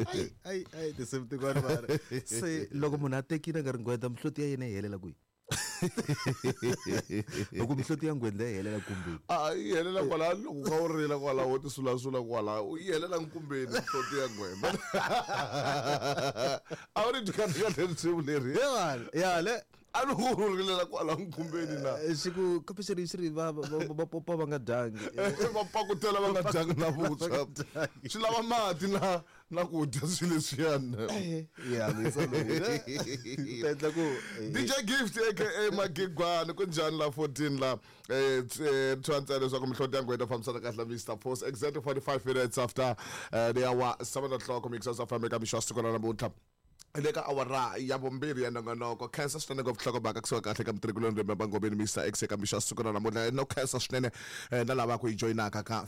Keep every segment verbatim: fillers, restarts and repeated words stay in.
Ai ai ai tinsimu tin'wana mara se loko munhu a tekile nga ri nghwendza mihloti ya yena yi helela kwihi? Loko mihloti ya nghwendza yi helela kumbeni. A yi helela kwala loko ka u rila kwala wo ti sulasula kwala yi helela nkumbeni mihloti ya nghwendza. A wu ri kahle kahle risimu leri. Ya ya le a loko u rilela kwala nkumbeni na. Xi ku kambe xi ri xi ri va va popa va nga dyangi. Va pakutela va nga dyangi na vuswa. Swi lava mati na na ku dya swilo leswiyani. Ya misa loyi. Endla ku D J Gift aka Magigwana ku njhani la fourteen la eh tshwantsa leswaku mihloti ya nghwendza fambisana kahle Mister Post exactly forty-five minutes after the hour seven o'clock mixers of Africa mixo siku ra namuntlha. Le ka awara ya vumbirhi ya nongonoko khensa swinene ngopfu nhlokomhaka kusuka kahle ka mutirhikuloni Remember Ngobeni Mister X eka mixo siku ra namuntlha no khensa swinene na lava ku hi joyinaka ka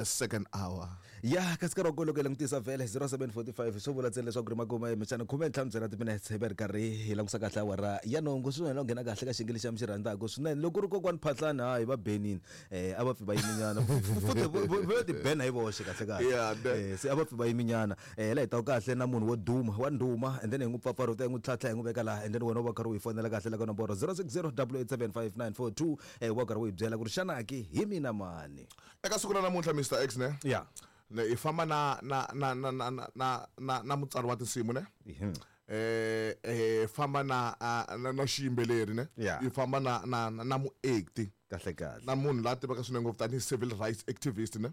second hour. Ya kasi nkarhi wa kona loko hi langutisa vhele zero seven forty-five swo vula ntsena leswaku ri makuma emixana khume ntlhanu ntsena timinetse hi va ri karhi hi langusa kahle awara ya nhungu swinene u nghena kahle ka xiyenge lexi mi xi rhandzaka swinene loko ku ri kokwani Phatlani hayi va benini eh a va pfi va yiminyana futhi vo ti bena hi voxe kahle kahle se a va pfi va yiminyana eh la hi ta kahle na munhu wo duma wa nduma and then hi n'wi pfapfarhuta hi n'wi tlhatlha hi n'wi veka laha and then wena u va karhi u hi fonela kahle la ka nomboro zero six zero double eight seven five nine four two eh wa karhi u hi byela ku ri xana ki hi mina mani eka siku ra namuntlha Mister X ne ya ne i famba na na na na na na na na mutsari wa tinsimu ne eh eh famba na na xiyimbeleri ne i famba na na na muacti kahle kahle na munhu la tivaka swinene ngopfu tanihi civil rights activist ne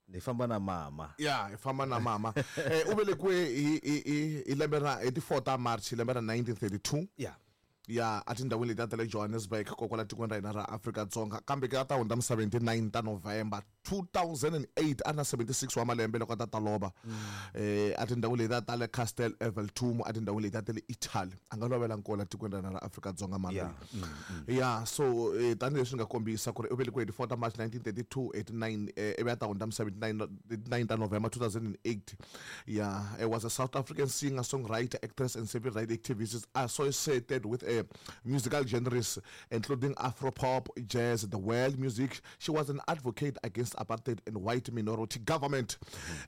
ni famba na mama ya hi famba na mama eh u velekiwe hi hi hi lembe ra hi ti four ta March hi lembe ra nineteen thirty-two ya ya etindhawini letiya ta le Johannesburg kokwala tikweni ra hina ra Afrika-Dzonga kambe ke a ta hundza misaveni ti nine ta November two thousand eight a na seventy-six wa malembe loko a ta ta lova eh etindhawini letiya ta le Castel Eveltumo etindhawini letiya ta le Italy a nga lovela nkola tikweni ra hina ra Afrika-Dzonga mali ya so tanihileswi nga kombisa ku ri u velekiwe hi ti four ta March nineteen thirty-two eighty-nine ivi a ta hundza misaveni ti nine ta November two thousand eight ya was a South African singer, songwriter, actress and civil rights activist associated with a musical genres including Afro-pop, jazz, the world music. She was an advocate against apartheid and white minority government.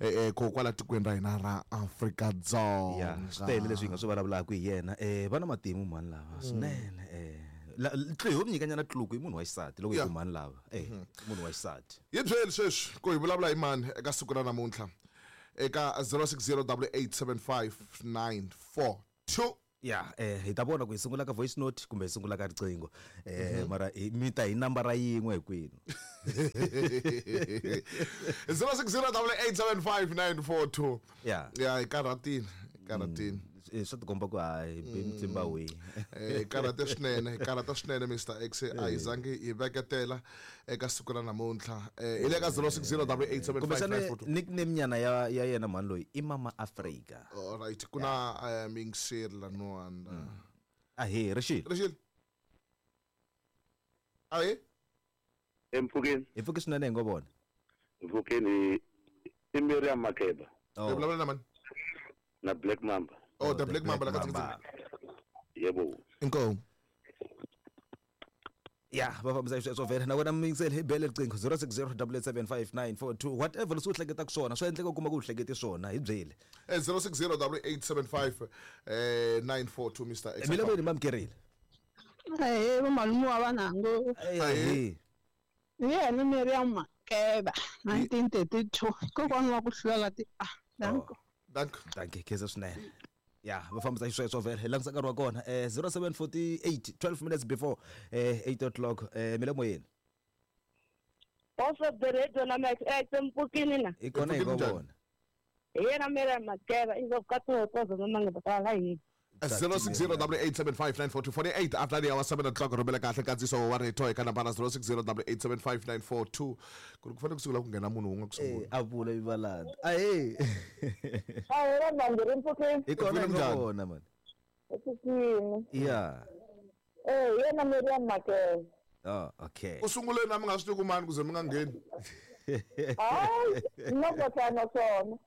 Eh kokwala tikweni ra hina ra Afrika-Dzonga. Ya swi tele leswi hi nga swi vulavulaka hi yena eh va na matimu mhani lava swinene eh tlu ho nyikanyana tluku i munhu wa xisati loko hi ku mhani lava eh munhu wa xisati. Hi byeli sweswi ku hi vulavula hi mani eka siku ra namuntlha eka zero six zero double eight seven five nine four two. Ya eh hi ta vona ku hi sungula ka voice note kumbe hi sungula ka riqingho eh mara mi ta hi nambara yin'we hinkwenu zero six zero double eight seven five nine four two. Ya ya hi karhatini karhatini swi tikomba ku hayi mtsimba wihi eh karhate swinene hi karhata swinene Mister X a hi zangi hi veketela eka siku ra namuntlha eh hi le ka zero six zero double eight seven five nine four two. Nickname nyana ya ya yena mhani loyi i Mama Africa. All right ku na mixer la nwanda ahe rixile rixile ahe empfukeni hi pfuke swinene hi ngo vona mpfukeni i Miriam Makeba hi vulavula na mani na Black Mamba. Oh, the Black Mamba la ka yebo inkomo ya va fambisa sweswo vhele na wena miyingiseli hi bele riqingho zero six zero double eight seven five nine four two whatever leswi u hleketaka swona swa endleka u kuma ku u hlekete swona hi byele zero six zero double eight seven five nine four two Mister X. Mina veni mamkerile eh va malume wa vanango eh yena Miriam Makeba nineteen thirty-two kokwana wa ku hlula ti ah danko danko danke khensa swinene ya va fambisa xisweswo vhele hi langutisa nkarhi wa kona eh zero seven forty-eight twelve minutes before eh eight o'clock eh mi le moyeni Boss of the radio na Max X mpfukini na hi kona hi vona hi yena Miriam Makeba i ka tokoza mama nga ta hi zero six zero double eight seven five nine four two forty-eight after the hour seven o'clock rhumela kahle nkandziso wa rito eka nambara zero six zero double eight seven five nine four two ku ri ku fanele ku sungula ku nghena munhu wun'we ku sungula a vula ivalanda ahe ahe va mpfukeni hi kona hi vona mani mpfukini ya eh yena Miriam Makeba. Oh okay u sungule na mi nga swi tivi ku mani ku ze mi nga ngheni hayi no tana swona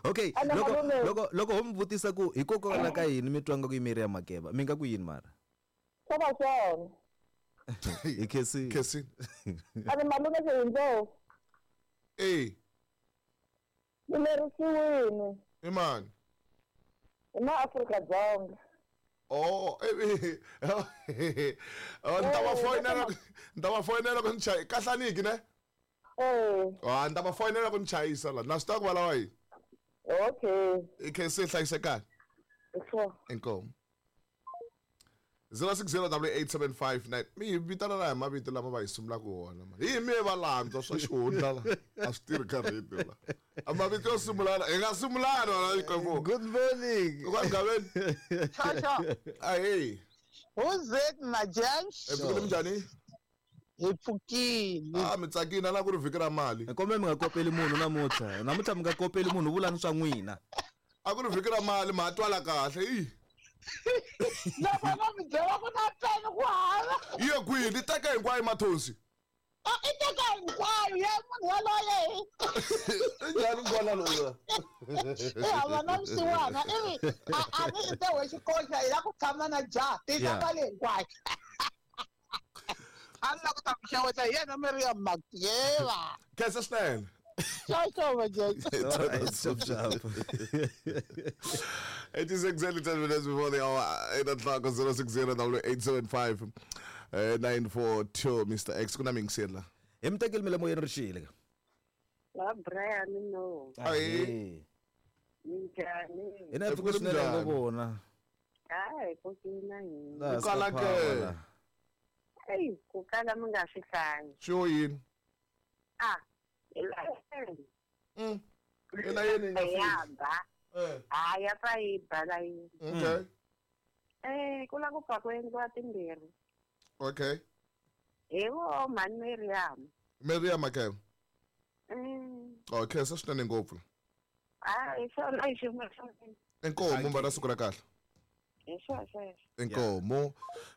Okay loko loko loko ho mi vutisa ku hikokwalaho ka yini mi twanga ku i Miriam Makeba mi nga ku yini mara swo va swona hi khesi khesi a ni malume se hindlo Eh. Ni lerisiwile. I mani? I maAfrika-Dzonga. Oh, eh eh. Oh, ni ta va foyinela ni ta va foyinela ku ni chayisa kahlaniki ne? Eh. Ah, ni ta va foyinela ku ni chayisa la. Na swi tiva ku va lava yini. Okay. I khense hlayisekani. Sure. Inkomu. zero six zero double eight seven five nine mi hi vitana na hi mavito lama va hi sungulaka wona mani hi mi va lantswa swa xihundla la a swi tirhi ka radio la a mavito yo sungulana hi nga sungulani wona Xikwembu. Good morning. Kwa Gaveni. Shosho. Ahee. Who's it na James? Hi pfukile minjhani? Hi pfukile. Ah, mi tsakile na ku ri vhiki ra mali. Kombe mi nga kopeli munhu namuntlha. Namuntlha mi nga kopeli munhu vulani swa n'wina. A ku ri vhiki ra mali ma twala kahle i. Loko va mi byela ku na peni ku hava. Yi ye kwihi? Ni teka hinkwayo mathonsi. A i teka hinkwayo ya munhu yaloye. I njhani n'wana loyi? I hava na vusiwana i ri a a ni i te we xikoxa hi la ku tshama na jaha tisa mali hinkwayo. A ni la ku ta mi xeweta hi yena Miriam Makeba. Khensa swinene. Ciao, ciao, Majaji. All right, sharp, sharp. It is exactly ten minutes before the hour. Eight o'clock, zero six zero double eight seven five nine four two. Mister X, kuna mingisela. Hi mi tekeli mi le moyeni ri xile. Va Brian no. Ahee. Minjhani? Hina hi pfuke swinene ngo vona. Hayi, ku kina hina. Ku kala ke. Eyi, ku kala mi nga swi hlayi. Swi yini? Ah. Elayeni. Mm. Elayeni nga ya ba. Eh. Ah, ya fa yi ba la yini. Okay. Eh, ku la ku pfa ku endliwa timbirhi. Okay. Hi vo mhani Miriam. Miriam Makeba. Mm. Okay, se swinene ngopfu. Ah, hi swona hi xin'we xa mina. Inkomu va na siku ra kahle. Hi swona sweswo. Inkomu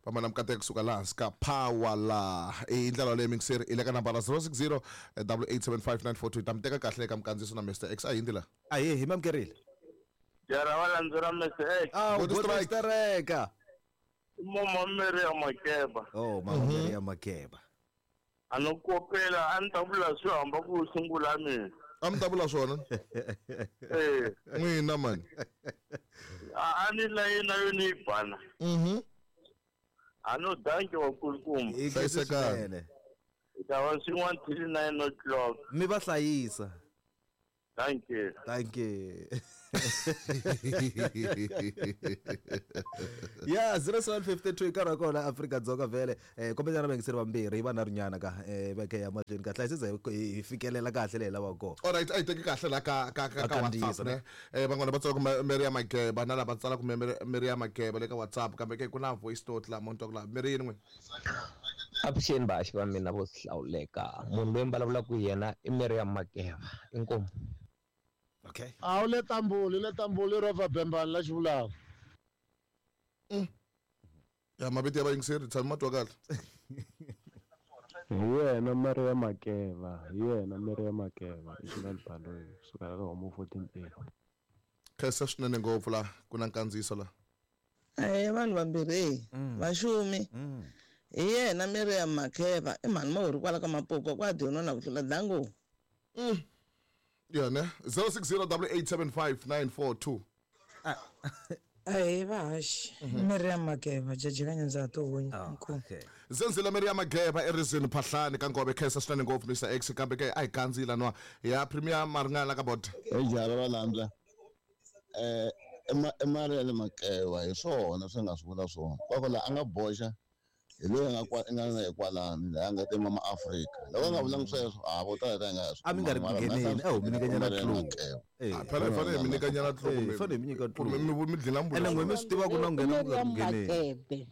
va mana mikateko kusuka laha hansi ka power la i ndlela leyi mingiseri i le ka nambara zero six zero double eight seven five nine four two ta mi teka kahle eka mikandziyiso na Mister X a hi ndlela. Ahee, hi mi amukerile. Jara va landzela Mister X. Ah, Good good strike. strike. Mama Miriam Makeba. Oh, mama Miriam Makeba. A no kopela a ni ta vula swi hamba ku sungula mina. A mi ta vula swona? Eh. N'wina mani. A ni layina yo ni yi bana. Mhm. A no danki wa nkulukumba. Hi khensa Hlayisekani. swinene. Hi ta va swin'wana till nine o'clock. Mi va hlayisa. Thank you. Thank you. Yeah, zero seven fifty two nkarhi wa kona Afrika-Dzonga vhele eh kombetana vayingiseri vambirhi va nharhunyana ka eh veke ya mahlweni ka hlayisisa hi fikelela kahle leyi lavaka kona. All right, a hi teki kahle la ka ka ka ka WhatsApp ne. Eh van'wana va tsala ku Miriam Makeba na lava tsala ku Miriam Makeba le ka WhatsApp kambe ke ku na voice note la mo twa ku la Miri yini n'wina. Avuxeni vaxi va mina vo hlawuleka munhu loyi mi vulavulaka hi yena i Miriam Makeba inkomu. Okay. A wu le Tambuli le Tambuli ro va Bembani la xivulaka. Ya mavito ya vayingiseri tshami ma twa kahle. Hi yena Miriam Makeba, hi yena Miriam Makeba i Xilani Baloyi kusuka ka Homo fourteen A. Khensa swinene ngopfu la ku na nkandziyiso la. Eh vanhu vambirhi vaxumi. Hi yena Miriam Makeba i mhani mahori kwala ka Mapuka kwa dyona na ku tlula dango. Mm. Yeah, ne? zero six zero double eight seven five nine four two. Ahee vahaxi Miriam Makeba jaji ka nyandza to Okay. Zenzile Miriam Makeba erizini Phahlani ka Ngove khensa swinene ngopfu Mister X kambe ke a hi kandziyila nwa ya Premier Maringana ka bot. Ejara va landza eh i Miriam Makeba hi swona swi nga swi vula swona kwako la a nga boxa hi loyi a nga kwa nga na hikwalani laha nga te mama Afrika loko a nga vulangi sweswo a vo tala ta nga A mi nga ri ku ngheneni a ho mi nyikanyana clue. Eh, phela hi fanele hi mi nyikanyana clue Eh, fanele hi mi nyika clue. mi mi dlina mbulo. Ene n'we mi swi tiva ku na nghena ku nga ri ku Miriam ngheneni. Makebe.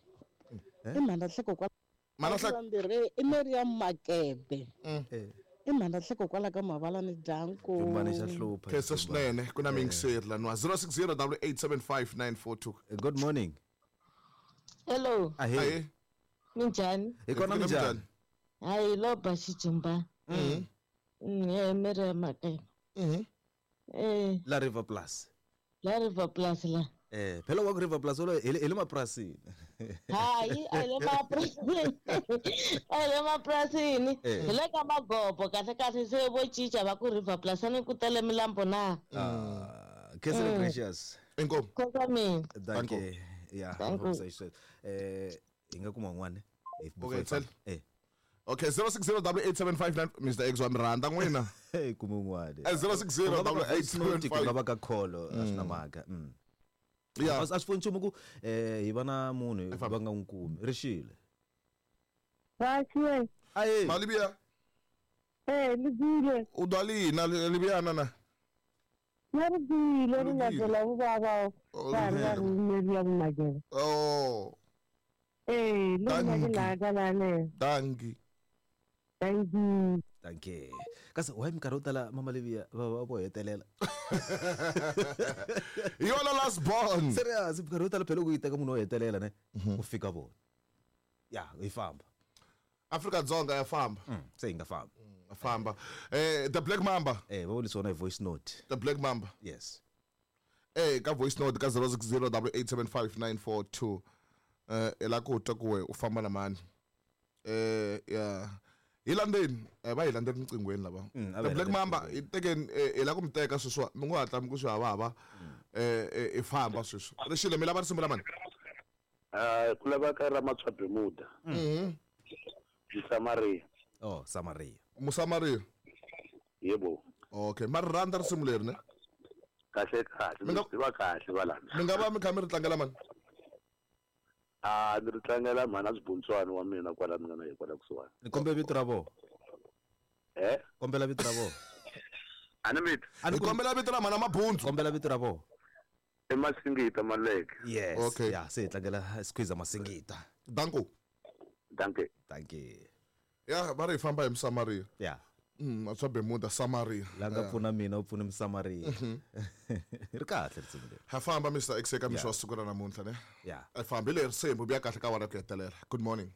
I mhana hleko kwala. Mhana hleko. Vambirhi i Miriam Makebe. Eh. I mhana hleko kwala ka Mavalani Danko. Jumbani xa hlupha. Khensa swinene ku na mingiseri la nwa zero six zero double eight seven five nine four two. Good morning. Hello. Ahee. Ahee. Minjhani? Hi kona minjhani? Hayi lo ba xijumba. Mhm. Mm, eh Miriam Makeba. Mhm. Eh, La River Plus. la River Plus la. Eh, phela wa ku River Plus wolo hi le hi le mapurasini. Hayi, a hi le mapurasini. A hi le mapurasini. Eh. Hi le ka magobo kahle kahle se vo cinca va ku River Plus a ni ku tele milambo na. Ah, Kesele Mm. Gracious. Inkomu. Khosa mina. Dankie. Yeah, Thank you. eh hi nga kuma un'wana if before Okay, hi famba. tell. Eh. Okay, zero six zero double eight seven five nine Mister X wa mi rhandza n'wina. Hey, kuma un'wana. Eh, zero six zero Ku nga va double ka eight voice note, seven ku nga five. va ka call a swi na mhaka. Mm. Yeah. A swi pfuni nchumu ku eh hi va na munhu va nga n'wi kumi. Rixile. Vaxiwe. Aye. Malibia. Eh, libile. U dwalina Libyana na. Na ribile ri nga byela vuvava. Va ri Miriam Makeba. Oh. Eh, le nna ke la ka la ne. Dankie. Thank you. Thank you. Kasi why minkarhi yo tala mama Livia va va vo hetelela. Hi yona last born. Serious, minkarhi yo tala phela ku yi teka munhu wo hetelela ne ku fika vona. Ya, hi famba. Afrika Dzonga ya famba. Se hi nga famba. Famba. Eh, the Black Mamba. Eh, va vulisa wona hi voice note. The Black Mamba. Yes. Eh, ka voice note ka zero six zero double eight seven five nine four two. Eh, i la ku twa ku we u famba na mani. Eh, ya. Hi landzeni, eh, va hi landzeni rinqinghweni lava. Mm, a The va hi Black landzeni Mamba hi tekeni eh, hi la ku mi teka sweswiwa, mi ngo hatla mi ku swi havahava. Eh, eh, i famba sweswi. Rixile mi lava risimu ra mani? Ah, ku laveka ra Matswa Bermuda. Mhm. Mosamaria. Oh, Samaria. Mosamaria. Yebo. Okay, ma ri rhandza risimu leri ne? Kahle kahle, Mi nga- mi tiva kahle valana. Mi nga va mi kha mi ri tlangela mani? Ah, ni ri tlangela mhana Sibuntswana wa mina kwala ni nga na ye kwala kusuhani. Ni kombela vito ra vona. Eh? Kombela vito ra vona. A ni vito. Hi kombela vito ra mhana Mabundzu. Kombela vito ra vona. I Masingita Maleke. Yes. Okay. Ya, se hi tlangela Squeezer Masingita. Danko. Dankie. Dankie. Ya, va ri hi famba hi Mosamaria. Ya. Mm, Matswa Bermuda Samaria. La nga Yeah. pfuna mina u pfuna Mosamaria. Mhm. Ri kahle risimu leri. Ha famba Mister X eka mixo Yeah. wa siku ra namuntlha ne? Yeah. A fambi leri risimu vuya kahle ka wara ku hetelela. Good morning.